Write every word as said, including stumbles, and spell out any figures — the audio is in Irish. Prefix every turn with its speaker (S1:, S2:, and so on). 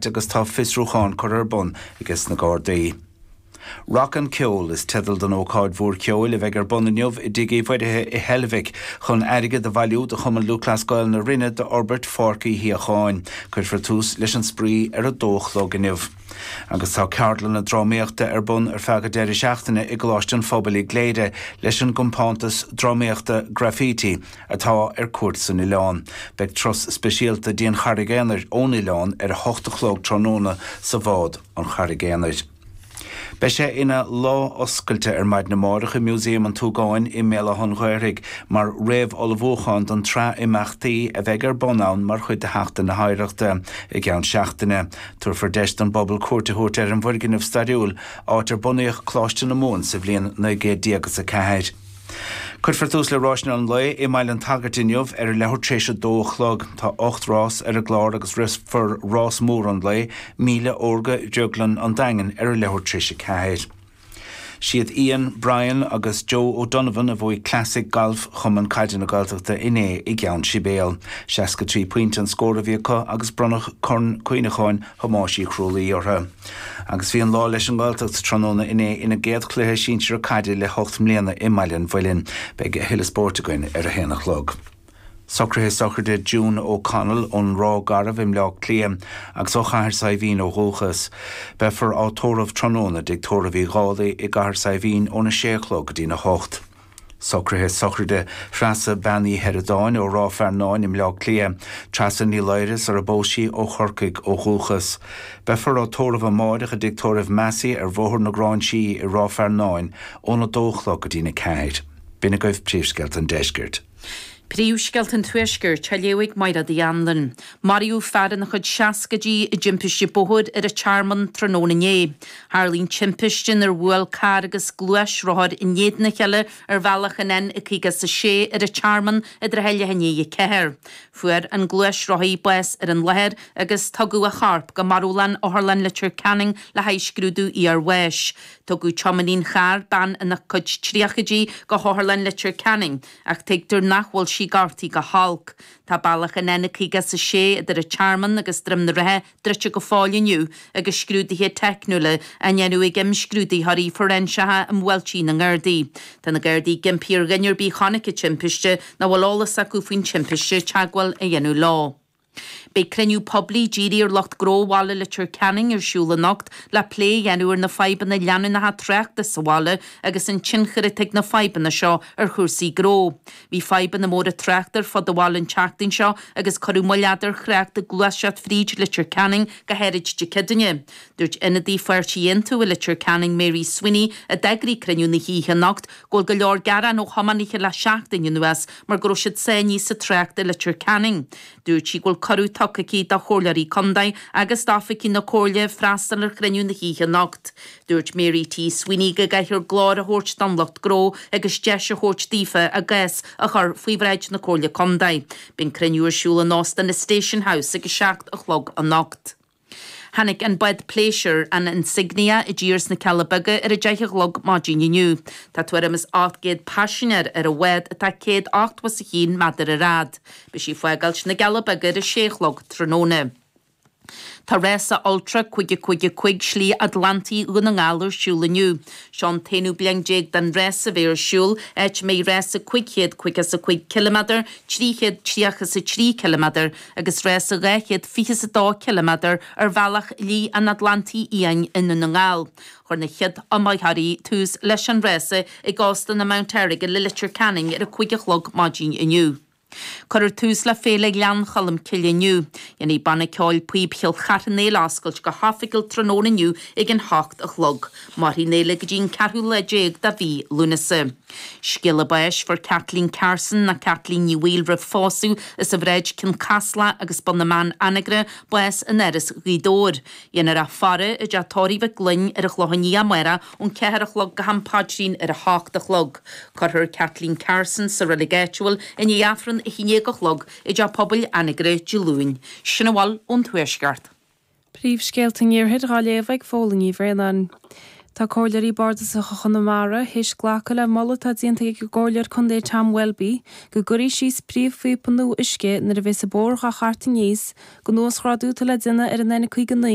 S1: Agus tá fiosrúchán curtha ar bun ages na Gardaí. Rock an Ceol is teideal don ócáid mhór ceoil a bheidh ar bun inniu i dTigh Uí Mhuirithe i Heilbhic chun airgead a bhailiú do Chumann Lúthchleas Gael na Rinne d'fhorbairt Pháirc Uí Shíocháin. Cuirfear tús leis an spraoi ar a dó a chlog inniu. Agus tá ceardlanna drámaíochta ar bun ar feadh an deireadh seachtaine i gColáiste an Phobail i gCléire leis an gcompántas drámaíochta Graffiti atá ar cuairt san oileán. Beidh turas speisialta dtí an Charraig Aonair ón oileán ar a hocht a chlog tráthnóna sa bhád An Charraig Aonair. Beidh sé ina lá oscailte ar maidin amárach i Músaem an tSúgáin i mBéal Átha an Ghaorthaidh mar réamhullmhúchán don tsraith imeachtaí a bheidh ar bun ann mar chuid de Sheachtain na hOidhreachta i gceann seachtaine. Tabharfar deis don bpobal cuairt a thabhairt ar an bhfoirgneamh stairiúil, áit ar bunaíodh Coláiste na Mumhan sa bhliain naoi gcéad déag is a ceathair. Cuirfear tús le ráiseanna an lae i mBaile an tSagairt inniu ar a leathuair tar éis a dó a chlog. Tá ocht rás ar an gclár agus rithfear rás mór an lae, Míle Órga Dhrioglann an Daingin ar a leathuair tar éis a ceathair. Siad Ian, Brian agus Joe O'Donovan a bhuaigh Classic Galf Chumann Caide na Gaeltachta inné i gCeann Sibéal. seasca trí pointe an scór a bhí acu agus bronnadh Corn Cuimhneacháin Thomáis Uí Chrualaoi orthu. Agus bhí an lá leis an nGaeltacht tráthnóna inné ina gcéad chluiche sinsear caide le hocht mbliana i mBaile an Mhuilinn. Beidh a thuilleadh spóirt againn ar a haon a chlog. Socruithe sochraide June O'Connell ón Ráth Garbh i mBleá Cliath agus ó Chathair Saidhbhín ó dhúchas. Beifear á tórramh tráthnóna i dTigh Tórraimh Uí Dhálaigh i gCathair Saidhbhín óna sé a chlog go dtína hocht. Socruithe sochraide Threasa Bean Uí Sheireadáin ó Ráth Fearnáin i mBleá Cliath, Treasa Ní Laoire sar a bpós sí ó Chorcaigh ó dhúchas. Beifear á tórramh amáireach i dTigh Tórraimh Massey ar Bhóthar na Gráinsí i Ráth Fearnáin óna dó a chlog go dtína ceathair. B'in agaibh príomhscéalta an deiscirt.
S2: Príomhscéalta an Tuaiscirt á léamh ag Máire Uí Anluain. Maraíodh fear ina chuid seascaidí i dtimpiste bóthair ar an Tearmann tráthnóna inné. Tharla an timpiste nuair a bhuail carr agus gluaisrothar in éadan a chéile ar bhealach an N caoga is a sé ar an Tearmann i dtrátha leath i ndiaidh a ceathair. Fuair an gluaisrothaí bás ar an láthair agus tugadh a chorp go marbhlann Otharlann Leitir Ceanainn le haghaidh scrúdú iarbháis. Tugadh tiománaí an chairr, bean ina cuid tríochaidí, go hOtharlann Leitir Ceanainn ach tuigtear nach bhfuil sí gortaithe go holc. Tá bealach an N caoga is a sé idir an Tearmann agus Droim na Rátha druidte go fóill inniu agus scrúduithe teicniúla á ndéanamh ag imscrúdaitheoirí fóiréinseacha um bhuailtí na nGardaí. Tá na Gardaí ag impí ar dhuine ar bith a chonaic an timpiste nó a bhfuil eolas acu faoin timpiste teagmháil a dhéanamh leo. Beidh cruinniú poiblí dírithe ar lucht gnó bhaile Leitir Ceanainn ar siúl anocht le plé a dhéanamh ar na fadhbanna leanúnacha tráchta sa bhaile agus an tionchar atá ag na fadhbanna seo ar chúrsaí gnó. Bhí fadhbanna móra tráchta ar fud an bhaile an tseachtain seo agus cuireadh moill fhada ar thrácht ag gluaiseacht fríd Leitir Ceanainn go háirid Dé Céadaoine. Dúirt ionadaí Pháirtí Aontú i Leitir Ceanainn Mary Sweeney a d'eagraigh cruinniú na hoíche anocht go bhfuil go leor gearán ó thiománaithe le seachtain anuas mar go raibh siad sáinnithe sa trácht i Leitir Ceanainn. Dúirt sí go bhfuil cuireadh tugtha aici do chomhairleoirí contae agus d'oifigigh na comhairle freastal ar chruinniú na hoíche anocht. Dúirt Mary T. Sweeney go gcaithfear glór a thabhairt don lucht gnó agus deis a thabhairt daofa a gcás a chur faoi bhráid na Comhairle Contae. Beidh an cruinniú ar siúl in Óstán na Station House ag a seacht a chlog anocht. Tháinig an bád pléisiúir, an Insignia, i dtír sna Cealla Beaga ar a deich a chlog maidin inniu. Tá tuairim is ocht gcéad paisinéir ar an bhád atá céad ochtó is a haon méadar ar fhad. Beidh sí ag fágáilt na gCealla Beaga ar a sé a chlog tráthnóna. Tá rása Ultra cúig a cúig a cúig Slí Atlantaigh Dhún na nGall ar siúl inniu. Seo an t-aonú bliain déag den rása a bheith ar siúl, áit a mbeidh rása cúig chéad caoga is a cúig ciliméadar, trí chéad tríocha is a trí ciliméadar agus rása dhá chéad fiche is a dó ciliméadar ar bhealach Shlí an Atlantaigh Fhiáin i nDún na nGall. Chuir na chéad iomaitheoirí tús leis an rása ag Óstán an Mount Errigal i Leitir Ceanainn ar a cúig a chlog maidin inniu. Cuirfear tús le Féile Ghleann Cholm Cille inniu. Déanfaidh Banna Ceoil Píob Chill Chartha an fhéile a oscailt go hoifigiúil tráthnóna inniu ag an hocht a chlog. Mairfidh an fhéile go dtí an ceathrú lá déag de mhí Lúnasa. Scéala báis fuair Kathleen Carson nó Kathleen Ní Bhaoill roimh phósadh as an Bhráid Cionn Caslach agus Bun na mBan Anagaire bás in Áras Ghaoth Dobhair. Dhéanfar í a faire i dteach tórraimh Mhic Gloinn ar an Chlochán Liath amárach ón ceathair a chlog go ham paidrín ar a hocht a chlog. Cuirfear Kathleen Carson sa reilig áitiúil i ndiaidh Aifreann a haon déag a chlog i dteach pobail Anagaire Dé Luain. Sin a bhfuil ón Tuaisceart.
S3: Príomhscéalta an Iarthair á léamh ag Fódhla Ní Bhraonáin. Tá Comhairleoirí Bardasacha Chonamara théis glacadh le moladh atá déanta ag an gComhairleoir Contae Tom Welby go gcuirfí síos príomhphíopa nua uisce nuair a bheas an bóthar dhá tharraingt aníos don uasghrádú atá le déanamh ar an N caoga naoi